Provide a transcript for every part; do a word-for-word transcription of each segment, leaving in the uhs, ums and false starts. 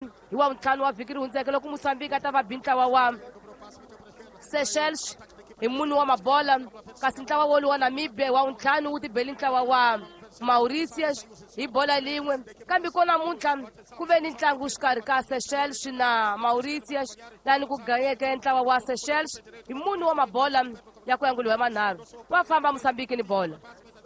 Hi wa ntlhanu wa vhiki ri hundzeke loko Mozambique a ta va bi ntlawa wa Seychelles hi mune wa mabola, kasi ntlawa wolowu wa Namibia wa ntlhanu wu tibeli ntlawa wa Mauritius hi bola lin'we. Kambe ko namuntlha ku ve ni ntlangu xikarhi ka Seychelles na Mauritius, lani ku ganyeke ntlawa wa Seychelles hi mune wa mabola ya ku yanguliwa manharhu. Wa famba Mozambique ni bola.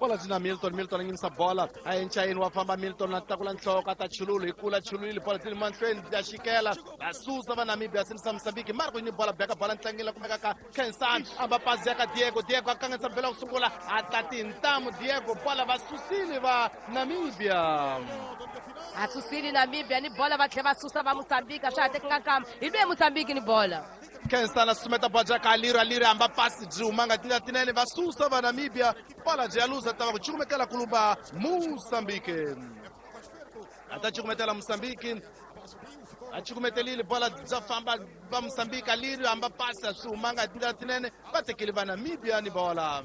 Bola byi na Milton. Milton a nyimisa bola, a enchayini, wa famba Milton, a tlakula nhloko, a ta chululu hi kula chululile. Bola byi le mahlweni, ya xikela, va susa va Namibia, sinisa Mozambique. Marco ni bola, beka bola ntlangeni la kumeka ka Kensani, a va pasi ya ka Diego. Diego a kanganyisa mbela ku sungula, a ta tintamu Diego, bola va susile va Namibia. A susile Namibia ni bola, va tlhela va susa va Mozambique, a swa ha tekanga nkama hi lwe Mozambique ni bola. Kensana sumeta bola ka Aliro. Aliro hamba pasi byi humanga tindlela tinene, va susa va Namibia, bola byi ya luza, ta va ku cukumetela kulumba Mozambique. A ta cukumetela Mozambique, a cukumetelile, bola bya famba va Mozambique. Aliro hamba pasi, a swi humanga tindlela tinene, va tekile va Namibia ni bola.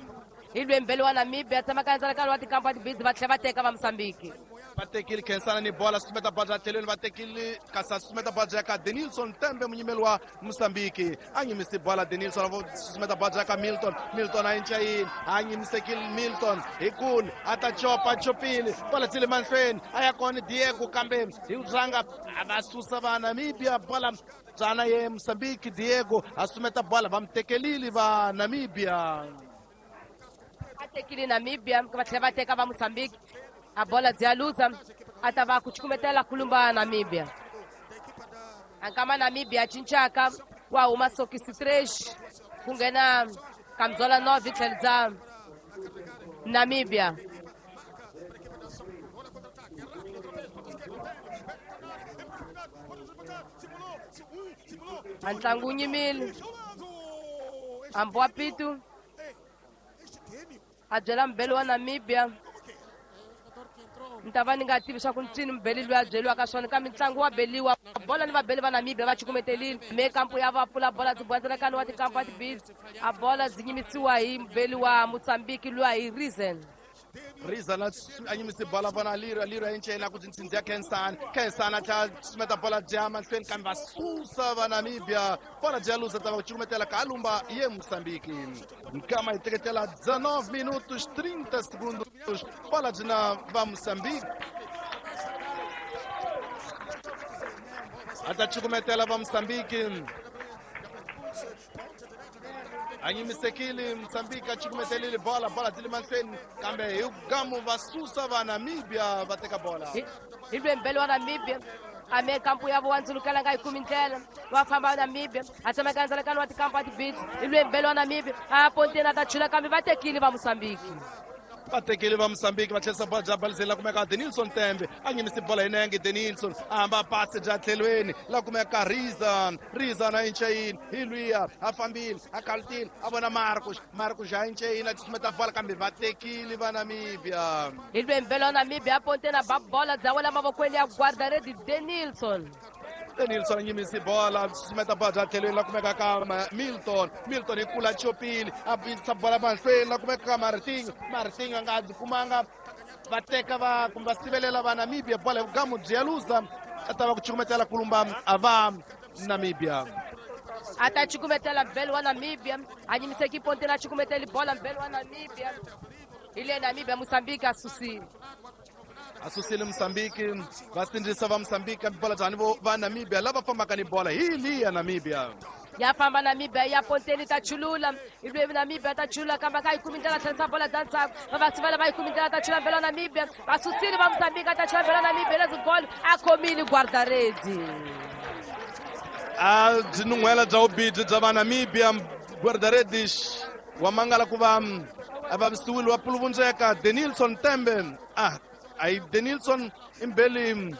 Hi lwembele wa Namibia tshama ka ndzalakalo wa tikampa tibizi, va tlhela va teka va Mozambique. Va tekile Khensana ni bola, sumeta bola tlhelweni, va tekile, kasi a sumeta bola ya ka Denilson Tembe, munyimeli wa Mozambique, a nyimisi bola. Denilson a sumeta bola ya ka Milton. Milton a enchayini, a nyimisekile Milton hi kule, a ta chopa, chopile, bola tsile mahlweni, a ya kona Diego, kambe hi rhanga a va susa va Namibia. Bola byana ye Mozambique. Diego a sumeta bola, va mi tekelile va Namibia. A tekile Namibia, va tlhela va teka va Mozambique, a bola byi ya luza, a ta va ku cukumetela kulumba Namibia. Ankama Namibia a cincaka, wa huma sokisi tres, ku nghena kamzola nove tlhelo bya Namibia. A ntlangu wu nyimile, hambi wa pitu a byela mubeli wa Namibia, ni ta va ni nga tivi swa ku ncini mubeli loyi a byeliwaka swona, kambe ntlangu wa beliwa bola ni vabeli va Namibia va cukumetelile me kampo ya va pfula bola byi bwandzilekani wa tikampo wa tibizi, a bola byi nyimisiwa hi mubeli wa Mozambique luya hi Reason. Rizan a nyimisi bola, vona Aliro. Aliro a encela ku tintshindzi ya Khensani. Khensani a tlhela sumeta bola bya mahlweni, kambe va susa va Namibia, bola bya luza, ta va ku cukumetela ka lumba ye Mozambique. Nkama hi teketela dezenove minutos trinta segundos, bola byi na va Mozambique, a ta cukumetela va Mozambique. A nyimisekile Mozambique, a cukumetelile bola, bola byi le mahlweni, kambe hi gamu va susa va Namibia, va teka bola. Hi lwembele wa Namibia a me kampu ya vo wandzulukela nga yi kumi ndlela, va famba Namibia, a tsemeka ndzalakano wa tikampu wa tibitsi. Hi lwembele wa Namibia a ponteni, a ta chula, kambe va tekile va Mozambique. Va tekile va Mozambique, va tlherisa bola bya balizeni la kumeka Denilson Tembe, a nyimisi bola hi nenge. Denilson a hamba pasi bya tlhelweni la kumeka Rizan. Rizan a enchayini, hi luya a fambile, a kalutile, a vona Marcos. Marcos a enchayini, a tisumeta bola, kambe va tekile va Namibia. Hi lwembele wa Namibia a ponteni, a ba bola bya wela mavokweni ya guardaredi Denilson. Denilson a nyimisi bola, sumeta bola bya tlhelweni la kumeka ka Milton. Milton hi kula chopile, a bisa bola mahlweni la kumeka ka Martinho. Martinho a nga byi kumanga, va teka va kumbe va sivelela va Namibia, bola hi vugamu byi ya luza, a ta va ku cukumetela kulumba a va Namibia. A ta cukumetela mbele wa Namibia, a nyimiseki ponteni, a cukumeteli bola mbele wa Namibia. Hi le Namibia, Mozambique a susile. A susile Mozambique, va sindzisa va Mozambique, kambe bola byani vo va Namibia lava fambaka ni bola hi liya Namibia. Ya famba Namibia ya ponteni, ta chulula ilwe Namibia, ta chulula, kambe ka yi kumi ndlela, tlherisa bola bya ndzhaku, va va sivela, va yi kumi ndlela, ta chula mbele wa Namibia, va susile va Mozambique, ta chula mbele wa Namibia lezi gol, a khomile guardaredi. A byi nun'hwela bya vubibyi bya va Namibia, guardaredis wa mangala ku va a vavisiwile, wa puluvundzeka Denilson Tembe. Ah, a Denilson i mbeli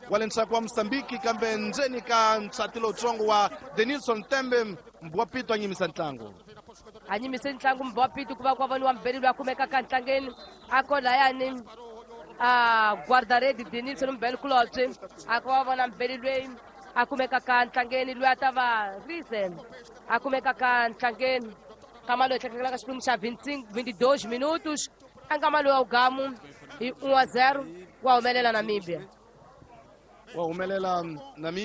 wa le ndzhaku wa Mozambique, kambe ndzeni ka nsati lowutsongo wa Denilson Tembe, wa Pito a nyimisa ntlangu. A nyimise ntlangu wa Pito, ku va ku va voniwa mbeli loyi a kumekaka ntlangeni, a ko layani a guardaredi Denilson mbeli kulobye, a ko va vona mbeli loyi a kumekaka ntlangeni, loyi a ta va Reason a kumekaka ntlangeni. Nkama loyi tlhetlhelaka ka xiphemu xa vinte e dois minutos, a nkama loyi wa ugamu hi um a zero wa humelela Namibia. Wa humelela Nami.